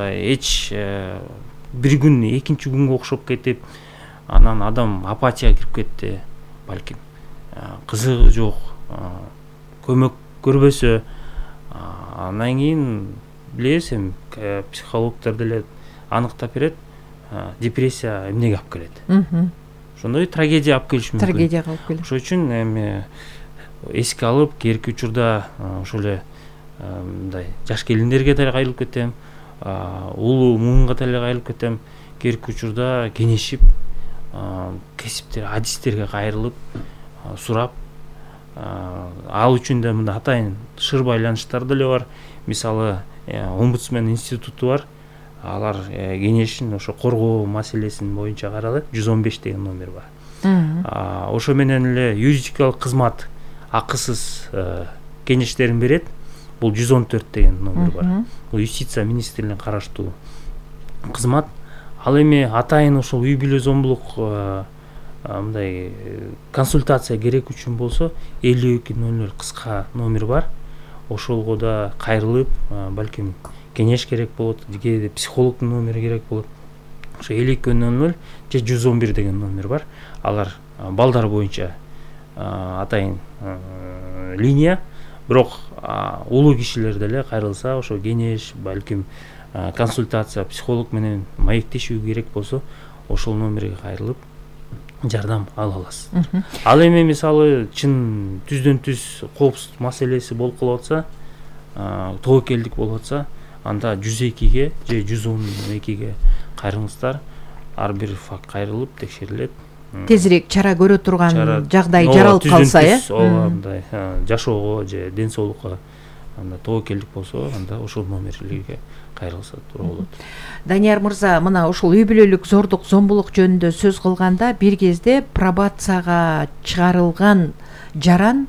мындай эч бир күн экинчи күнгө окшоп кетип, анан адам апатияга кирип кетти, балким кызыгы жок, көмөк көрбөсө, андан кийин билебиз эми психологдор деле аныктап берет, депрессия эмнеге алып келет. Ошондой трагедия алып келиши мүмкүн. Трагедияга алып келет. Ошон үчүн эми эске алып, кээинки учурда ошол эле мындай жаш келиндерге деле кайрылып кетем, улуу муунга деле кайрылып кетем. Кээинки учурда кеңешип, кесиптер, адистерге кайрылып, сурап, ал үчүн да мындай атайын шыр байланыштар деле бар. Мисалы, омбудсмен институту бар. Алар кеңешин ошо коргоо маселесин боюнча каралат. 115 деген номер бар. Ошо менен эле юридикалык кызмат акысыз кеңештерин берет. Бул 114 деген номер бар. Бул юстиция министрлигине караштуу кызмат. Ал эми атайын ошол үй бүлө зомбулук мындай консультация керек үчүн болсо 5200 кыска номер бар. Ошолго да кайрылып, балким кеңеш керек болот, кээде психологдун номери керек болот. Ошо 5200 же 111 деген номер бар. Алар балдар боюнча атайын линия, бирок улуу кишилер деле кайрылса, ошо кеңеш, балким консультация, психолог менен маектешүү керек болсо, ошол номерге кайрылып жардам ала аласыз. Ал эми мисалы чын түздөн түз коопсуздук маселеси болуп калып атса, тобокелдик болуп атса, анда 102ге же 112ге кайрылыңыздар. Ар бир факт кайрылып текшерилет. Тезирээк чара көрө турган жагдай жаралып калса, мындай жашоого же ден соолукка анда тобокелдик болсо, анда ошол номерлерге кайрылса туура болот. Данияр мырза, мына ушул үй бүлөлүк зордук, зомбулук жөнүндө сөз кылганда, бир кезде пробацияга чыгарылган жаран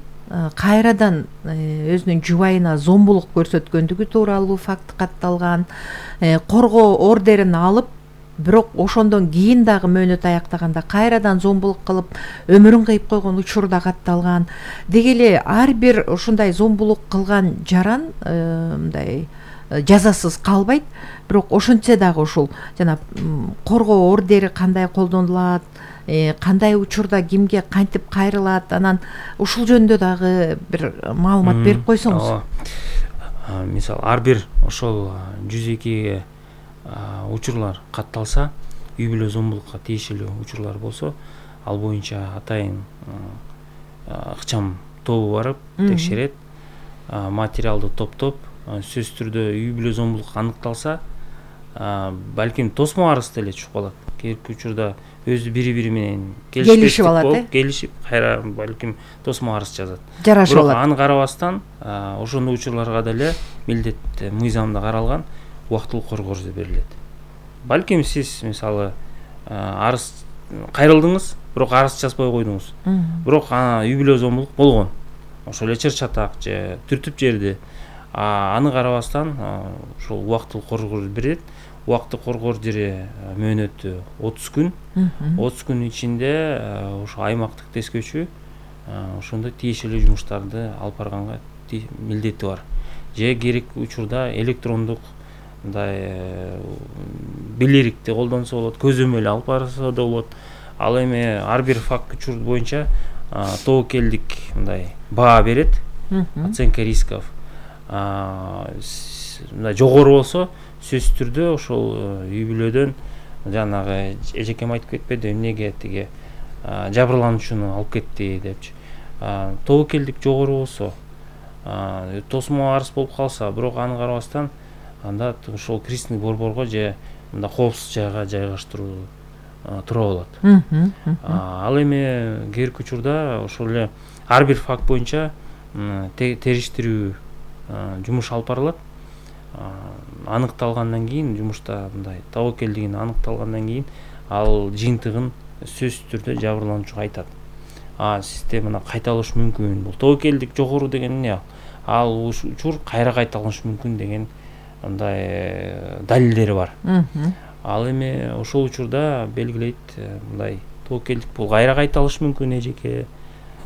кайрадан өзүнүн жубайына зомбулук көрсөткөндүгү тууралуу факт катталган, коргоо ордерин алып, бирок ошондон кийин дагы мөөнөт аяктаганда кайрадан зомбулук кылып өмүрүн кыйып койгон учур да катталган. Деги эле ар бир ушундай зомбулук кылган жаран мындай жазасыз калбайт, бирок ошентсе дагы ушул жана коргоо ордери кандай колдонулат, кандай учурда кимге кантип кайрылат, анан ушул жөнүндө дагы бир маалымат берип койсоңуз. Мисалы, ар бир ошол 102ге учурлар катталса, үй бүлө зомбулукка тиешелүү учурлар болсо, ал боюнча атайын ыкчам тобу барып текшерет, материалды топтоп, сөзсүз түрдө үй бүлө зомбулук аныкталса, балким тосмо арыз деле чыгып калат. Кээинки учурда өзү бири-бири менен келишип алат, келишип, кайра балким тосмо арыз жазат. Жарашып алат. Бирок аны карабастан, ошондой учурларга деле милдет мыйзамда каралган убактылык коргоо арызы берилет. Балким сиз мисалы арыз кайрылдыңыз, бирок арыз жазбай койдуңуз. Бирок үй бүлө зомбулук болгон. Ошол эле чыр-чатак же түртүп жерди. Аны карабастан ошол убактылык коргоо арызы берилет. Убактылык коргоо арызы мөөнөтү 30 күн. 30 күн ичинде ошо аймактык тескөөчү ошондой тиешелүү жумуштарды алып барганга милдети бар. Же керек учурда электрондук мындай билерикти колдонсо болот, көзөмөл алып барса да болот. Ал эми ар бир факт учур боюнча тобокелдик мындай баа берет, оценка рисков. Мындай жогору болсо, сөзсүз түрдө ошол үй бүлөдөн жанагы эжекем айтып кетпеди, эмнеге тиги жабырлануучуну алып кетти депчи. Тобокелдик жогору болсо, тосмо арыз болуп калса, бирок аны карабастан, анда ошол кризисный борборго же мындай коопсуз жайга жайгаштыруу туура болот. Ал эми кээинки учурда ошол эле ар бир факт боюнча териштирүү жумуш алып барылат. Аныкталгандан кийин, жумушта мындай тобокелдигин аныкталгандан кийин, ал жыйынтыгын сөзсүз түрдө жабырлануучуга айтат. Сизде мына кайталыш мүмкүн. Бул тобокелдик жогору деген эмне? Ал учур кайра кайталышы мүмкүн деген мындай далилдери бар. Ал эми ошол учурда белгилейт, мындай тобокелдик бул кайра кайталышы мүмкүн эжеке.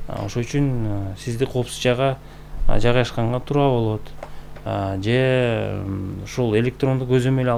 Ошол үчүн сизди коопсуз жайга жайгашканга туура болот. Же ушул электрондук көзөмөл алып